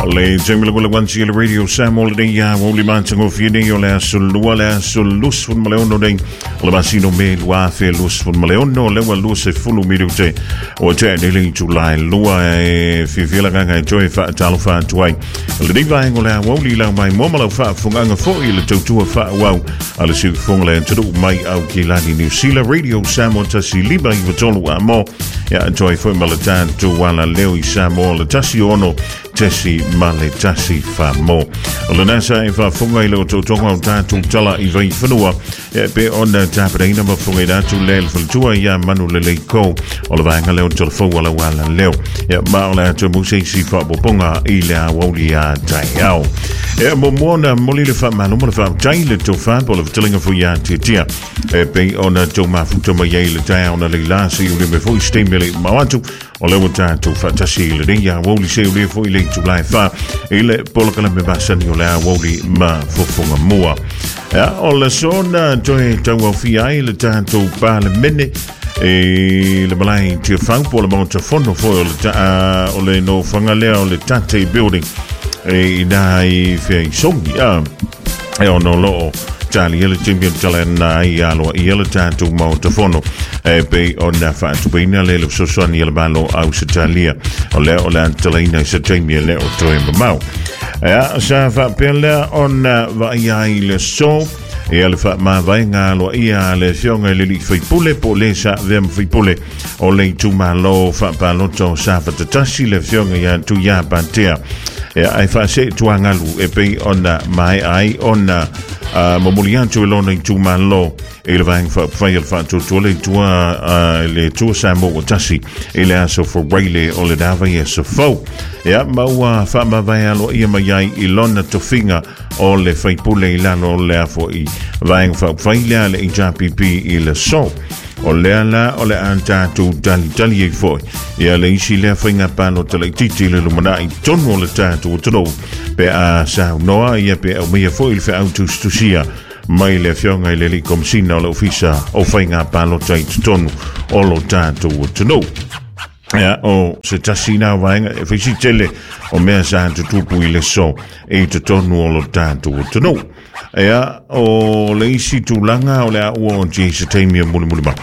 O le taimi le wansi le Radio Samoa lenei a ua matagofie nei o le aso lua le aso 26 nei o le masina o Me 2026 lea ua 20 minute ua tea nei le itula e lua e fiafia le agaga e toe faatalofa atu ai lenei vaega o le aoauli lau mai moa ma lau faafofogaaga foi i le tautua faaauau a le siufofoga le atunuu mai Aukilani Niu Sila Radio Samoa 1 5 93 amo ia toe foi ma le tatou ala leo i Samoa le 16 tesi ma le tasi famo. O lena sa e faafofoga i le otootoga o tatou tala i vaifanua e pe ona tapenaina ma fofogaina atu le le faletua ia Manu Lelei Ko o le vaega leo telefou a lau ala leo. Ia ma o le atu muse isi faapopoga i le aoauli a taeao. E muamua ona momoli le faamalo ma le faafetai le tofa po o le fetalaiga foi ia Tiatia e pei ona tou mafuta mai ai le taeao na leila se i uli mai foi se taimi e le i mamao atu o lea ua tatou faatasi i lenei aoauli se ulia foi le itula e 4 i le polokalame masani o le aoauli ma fofoga mua. Ia, o le sona toe tauaofia ai le tatou Palemene i le malae Tiafau po o le Maota Fono foi o le, ta, o le nofoaga lea o le Tate Building e ina i Feaisogi. E ono loo talia le taimi o tala na ai aloa ia le tatou Maota Fono e pei ona faatupeina le le fesoasoani a le Malo Ausetalia o lea o le a talaina i se taimi e le o toe mamao. Ia, sa faapea lea ona vaaia ai le aso ia le faamavaega aloaia a le afioga i le alii faipule po o le sa avea ma faipule o le itumalo faapalota o Safata 1 le afioga ia Tuia Patea. Ia, ae faasee tuagalu e pei ona maea ai ona momoli atu e lona itumalo i le Vaega Faaupufai o le Faatuatua le Atua le Atua Samoa ua tasi i le aso Faraile o le vaiaso fou. Ia, ma ua faamavae aloaia mai ai i lona tofiga o le faipule i lalo o le afoi Vaega Faaupufai lea le HRPP i le aso. O lea la o le a tatou talitali ai foi ia le isi lea faiga palota laitiiti le lumanai tonu o le tatou atunuu pe a saunoa ia pe aumaia foi le feau tusitusia mai le afioga i le alii Komesina o le Ofisa o Faiga Palota i totonu o lo tatou atunuu. Ia, o se tasi na vaega e faisi tele o mea sa tutupu i le aso i totonu o lo tatou atunuu. Ia, o le isi tulaga o le a ua o se taimi e mulimuli mai.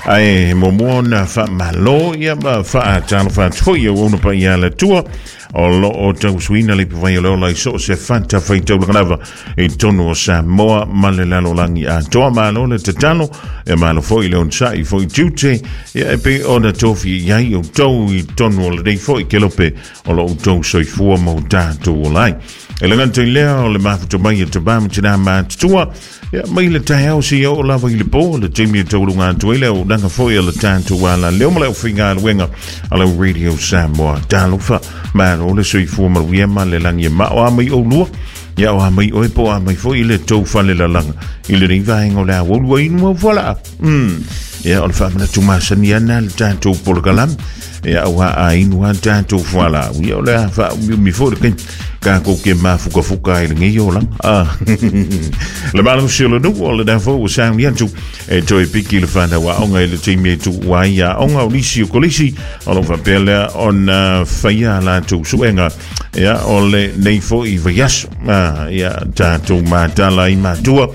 Ae muamua ona faamalo ia ma faatalofa atu foi ia uauna paia a le Atua o loo tausuina le ipuvai o le ola i so o se fata faitaulaga lava i totonu o Samoa ma le lalolagi atoa. Malo le tatalo, e malo foi le onosai foi tiute, ia e pei ona tofi i ai outou i totonu o lenei foi kelope o lo outou soifua ma o tatou ola ai. E le gata i lea o le mafuta mai e tamā ma tinā matutua, ia mai le taeao seia oo lava i le po, le taimi e taualuga atu ai le auaunaga foi a le tatou ala leo ma le aufaigaluega a lau Radio Samoa. Talofa, malo le soifua manuia ma le lagi e mao a mai oulua, ia o a mai oe po o a mai foi le tou falelalaga i lenei vaega o le aoauli ua inu au fualaau. Ia, o le faamanatu masani ana le tatou polokalame. Ia, aua a inu a tatou fualaau, ia o le a faaumiumi foi le taimi tatou ke mafukafuka ai lenei olaga. Ah. Le malosi o le nuu o lena foi ua sauni atu e toe piki le fanau aoga i le taimi e tuua ai aoga o nisi o kolisi o lo o faapea lea ona faia a latou suega ia o lenei foi vaiaso. Ah, ia tatou matala ai matua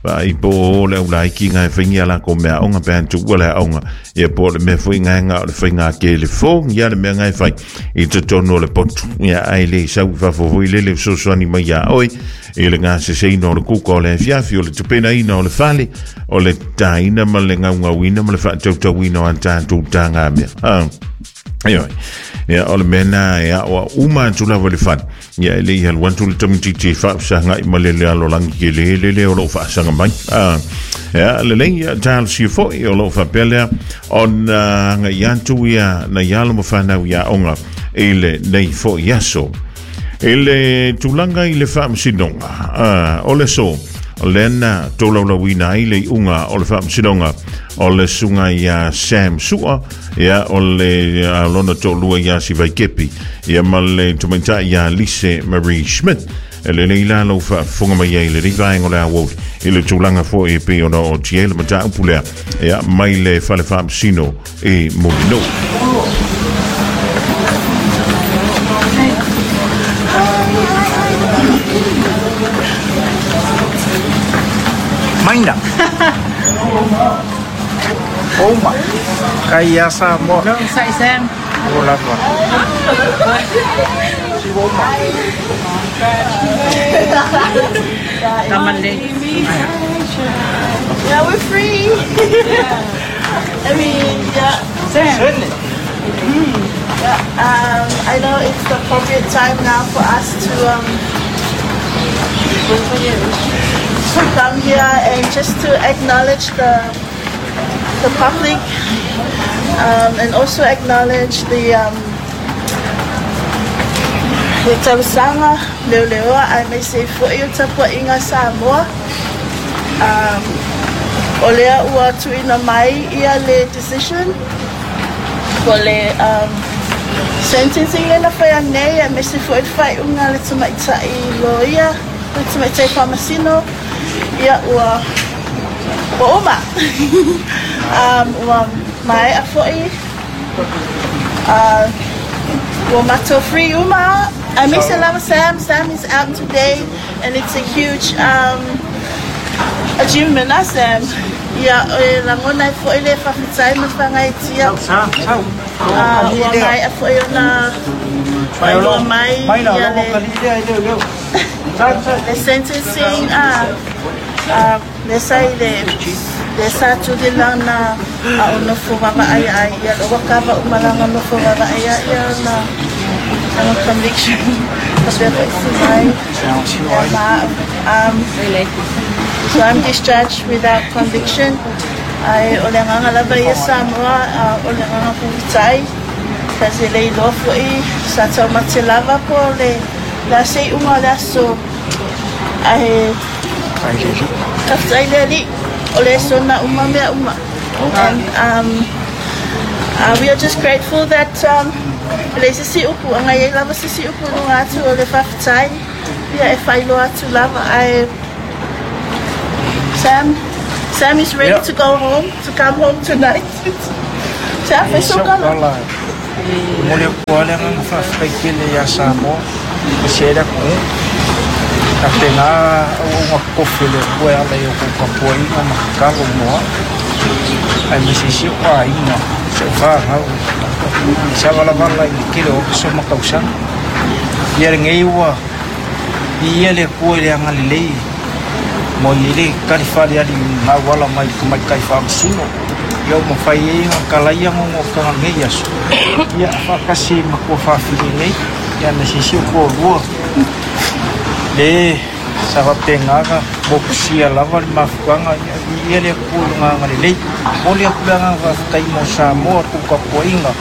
vaai po o le aulaiki nga e faingia lakou mea aoga pe a tuua le aoga ia po o le mea foi nga o le faiga telefoni ia le mea nga e fai i totonu o le potu ia ae le sau i fafo foi lele fesoasoani mai iā oe i le gaseseina o le kuka o le afiafi o le tapenaina o le fale o le taina ma le gaugauina ma le faatautauina o a tatou tagamea. Ah. Ioe. Ia, o le mea na e aoa uma atu lava i le fale. Ia, e le i alu atu le tamaitiiti e faafesagai ma le lalolagi tele lele o lo o faasaga mai. Ah, ia, lelei, ia, talosia foi o lo o faapea lea ona agai atu ia nai alo ma fanau i aoga i lenei foi aso. I le tulaga i le faamasinoga, ah, o le aso, lea na tolaulauina ai le iuga o le faamasinoga o le susuga ia Sam Sua, ia o le lona toalua ia Sivaikepi, ia ma le tamaitai ia Lise Marie Schmidt. E lelei la lou faafofoga mai ai i lenei vaega o le aoauli i le tulaga foi e pei ona o tia ai le mataupu lea ia mai le fale faamasino i Mulinuu. Maina. Oma. Kai ia Samoa. Sai Sam. O lava. Si oma. Yeah, we're free. I mean, yeah. Sam. Yeah, I know it's the appropriate time now for us to come here and just to acknowledge the public and also acknowledge the tausaga leoleoa aemaise foi o tapuaiga Samoa. O lea ua tuuina mai ia le decision po le sentencing lea na faia nei aemaise foi le faaiuga a le tamaitai loia, le tamaitai faamasino. Ia ua uma. Ua maea foi. Ua matou free uma. Aemaise lava Sam. Sam is out today and it's a huge achievement, ah, Sam. Ia, e lagona ai foi le faafetai ma le faagaeetia. Ua maea foi ona faailoa mai ia le sentencing lea sa i le lea sa tuli lana a o nofo vaavaai ai ia ua kava uma lana nofo vaavaai ai ia lana conviction faapea foi Sivai ma so I'm discharged without conviction. Ae o le agaga lava ia Samoa, o le agaga faafetai kasi e le iloa foi sa taumate lava po o le a se iuga o le aso ae faafetai le Alii o le sona uma mea uma. And we are just grateful that e leai se isi upu a i ai lava se isi upu i luga atu o le faafetai ia e faailoa atu lava ae Sam is ready to go home, to come home tonight. Sam, fai sau tala. Momoli atu lava le agaga faafetai tele ia Samoa ma si ai le atunuu. Faapena auauna totofi a le Atua e ala i a outou tapuaiga ma tatalo mo au, aemaise ai si ou aiga, si ou fanau i savalavala i le tele o aso ma tausaga. Ia lenei ua viia le Atua i le agalelei ua i ai le tali faaaliali na auala mai i le tamaitai faamasino. Ia ua mafai ai ona talaia nonotaga o lenei aso, ia faatasi ai ma tuafafine nei, ia aemaise ai si ou toalua le sa faapena ona motusia lava le mafutaga. Ia viia le Atua i Lona agalelei. Momoli atu le agaga faafetai mo Samoa, le tou tapuaiga.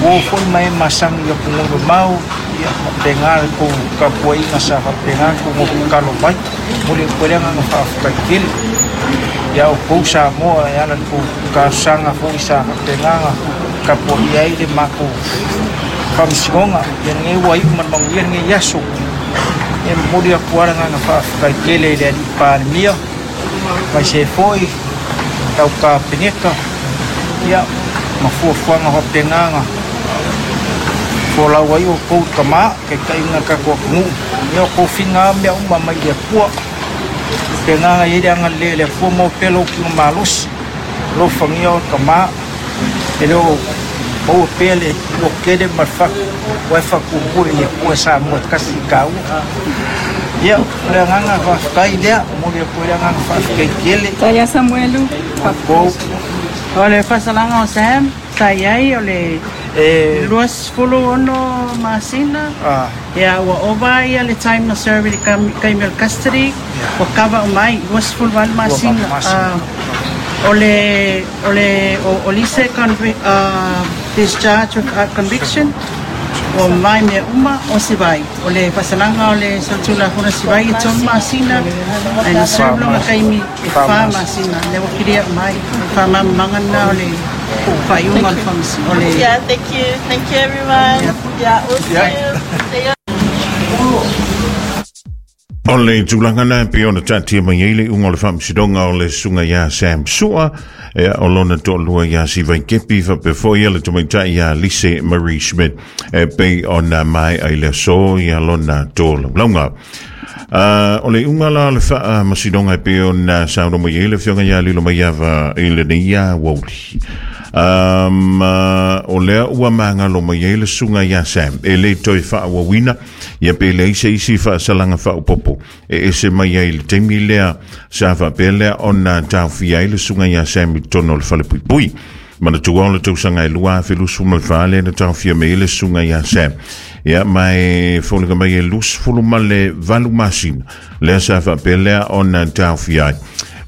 Ua oo foi ma e masani i atunuu mamao, ia faapena le tou tapuaiga sa faapena ona tou nofo tatalo mai. Momoli atu ai le agaga faafetai tele ia outou Samoa e ala i le tou talosaga foi sa faapena ona tapuaia ai le matou faamasinoga. Ia lenei ua iu ma le manuia lenei aso. E momoli atu lava le agaga faafetai tele i le Alii Palemia, aemaise foi lau Kapeneta, ia, ma fuafuaga faapena ona folau ai outou i tama, taitaiga o le tatou atunuu. Ia, o tofiga lava mea uma mai le Atua. Faapena ona i ai le agalelei o le Atua, maua pea lou tino malosi, alofagia oe tama, e le o maua pea le lototele ma le fatu, aua e fatuatua i le Atua e Samoa e tasi i taua. Ia, o le agaga faafetai lea, momoli atu ai le agaga faafetai tele. Faafetai ia Samuelu. Outou. O le faasalaga o Sam sa i ai o le 26 masina, ia ua ova ia le time na serve i le taimi o le custody, ua cover uma ai, 28 masina. O le o le o Lise discharge without conviction, ua mavae mea uma o Sivai. O le faasalaga o le solitulafono Sivai e 3 masina, ae na serve lona taimi e 4 masina, lea ua clear uma ai. O le faamalamalamaga lena o le faaiuga o le faamasinoga. O le Yeah, thank you. Thank you everyone. Yeah, we'll see you. O le tulaga lena e pei ona taatia mai ai le iuga o le faamasinoga o le susuga ia Sam Sua, ia, o lona toalua ia Sivai Kepi, faapea foi ia le tamaitai ia Lise Marie Schmidt, e pei ona maea i le aso ia lona tolaulauga. O le iuga la o le faamasinoga e pei ona saunoa mai ai le Afioga ia Lilomaiava i lenei aoauli. O lea ua magalo mai ai le susuga ia Sam e le toe faaauauina ia pe leai se isi faasalaga faaopoopo e ese mai ai i le taimi lea sa faapea lea ona taofia ai le susuga ia Sam i totonu o le falepuipui. Manatua o le tausaga e 2024 lea na taofia mai ai le susuga ia Sam. Ia, ma e foliga mai e 28 masina lea sa faapea lea ona taofia ai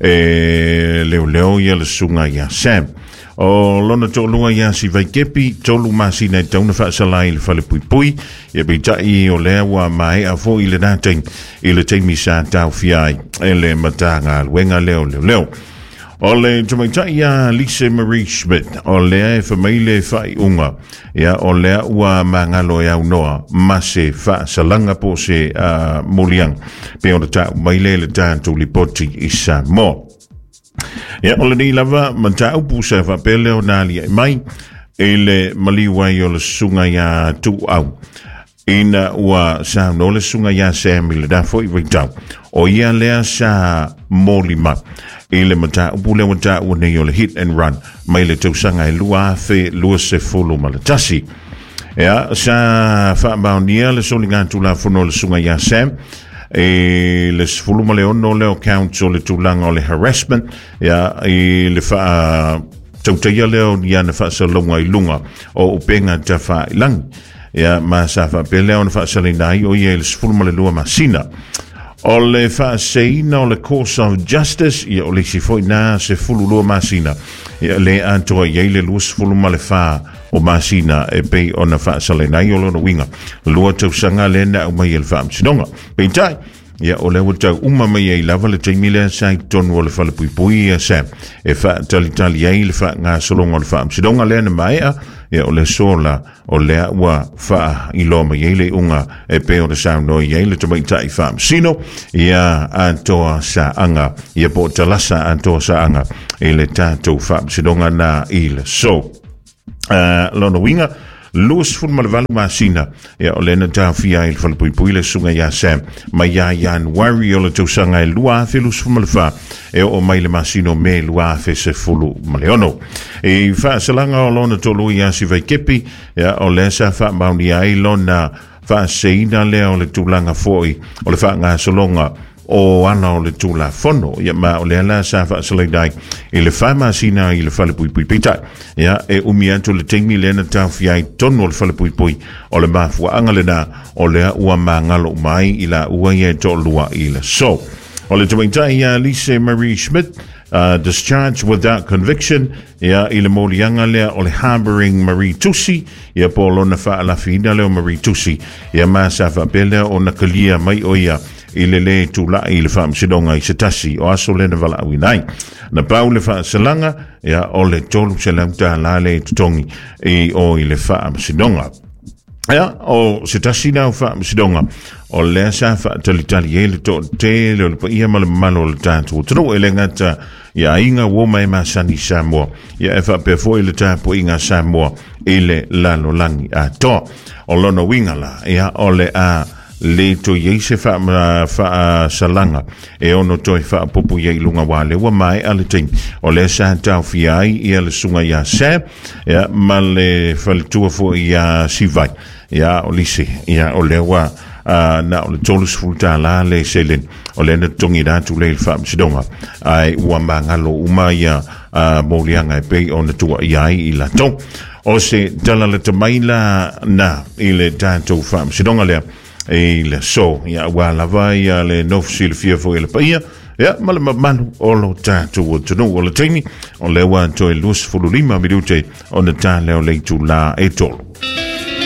e leoleo ia le susuga ia Sam. O lona toalua ia Sivaikepi, 3 masina e tatau ona faasala i le falepuipui. Ia peitai o lea ua maea foi lena taimi i le taimi sa taofia ai e le Matagaluega lea o Leoleo. O le tamaitai ia Lise Marie Schmidt, o lea e fai mai le faaiuga, ia o lea ua magalo e aunoa ma se faasalaga po o se moliaga, pe ona tau mai lea i le tatou lipoti i Samoa. Ia, o lenei lava mataupu sa faapea lea ona aliae mai i le maliu ai o le susuga ia Tuuau. Ina ua saunoa le susuga ia Sam i lena foi vaitau, o ia lea sa molima i le mataupu lea ua taua nei o le hit and run mai le tausaga e 2021. Ia, sa faamaonia le soligatulafono o le susuga ia Sam i le 16 lea o counts o le tulaga o le harassment, ia, i le faatautaia lea o ni ana faasalalauga i luga o upega tafailangi. Ia, ma sa faapea lea ona faasalaina ai o ia i le 12 masina. O le faaseina o le Course of Justice, ia o le isi foi na 12 masina. Ia le atoa i ai le 24 o masina e pei ona faasalaina ai o lona uiga. 2 tausaga lea na aumai e le faamasinoga. Peitai, ia o lea ua tau uma mai ai lava le taimi lea sa i totonu o le falepuipui ia Sam e faatalitali ai le faagasologa o le faamasinoga lea na maea, ia o le sola o lea ua faailoa mai ai le iuga e pei ona saunoa i ai le tamaitai faamasino ia atoa saaga ia po o talasa atoa saaga i le tatou faamasinoga na i le so. Lona uiga, 28 masina ia o lea na taofia ai le falepuipui le susuga ia Sam mai ia Ianuari o le tausaga e 2024 e oo mai le masina o Me 2016. I faasalaga o lona tolu ia Sivaikepi, ia o lea sa faamaonia ai lona faaseina lea o le tulaga foi o le faagasologa o ala o le Tulafono. Ia ma o lea la sa faasalaina ai i le 4 masina i le falepuipui. Peitai, ia e umi atu le taimi lea na taofia ai totonu o le falepuipui o le mafuaaga lena o lea ua magalo uma ai i laua ia e toalua i le aso. O le tamaitai ia Lise Marie Schmidt, discharged without conviction, ia i le moliaga lea o le harbouring Marie Tusi, ia po o lona faalafiina lea o Marie Tusi, ia ma sa faapea lea ona kalia mai o ia i le lē tula'i i le faamasinoga i se tasi o aso lea na valaauina ai. Na pau le faasalaga, ia o le $300 le totogi i o i le faamasinoga. Ia, o se tasi na o faamasinoga o lea sa faatalitali ai le toatele o le paia ma le mamalu o le tatou atunuu e le gata ia aiga uo ma e masani Samoa, ia e faapea foi le tapuaiga a Samoa i le lalolagi atoa. O lona uiga la, ia o le a le toe i ai se faasalaga e ono toe faaopoopo i ai i luga aua lea ua maea le taimi o lea sa taofia ai ia le susuga ia Sam ia, ma le faletua foi ia Sivai ia o Lise ia o lea ua na o le $30 le seleni o lea na totogi atu lea i le faamasinoga ae ua magalo uma ia moliaga e pei ona tuuaia ai i latou. O se tala lata mai la na i le tatou faamasinoga lea i le aso ia aua lava ia le nofo silafia foi e le paia ia ma le mamalu o lo tatou atunuu. O le taimi o lea ua toe 25 minute ona ta lea o le itula e 3.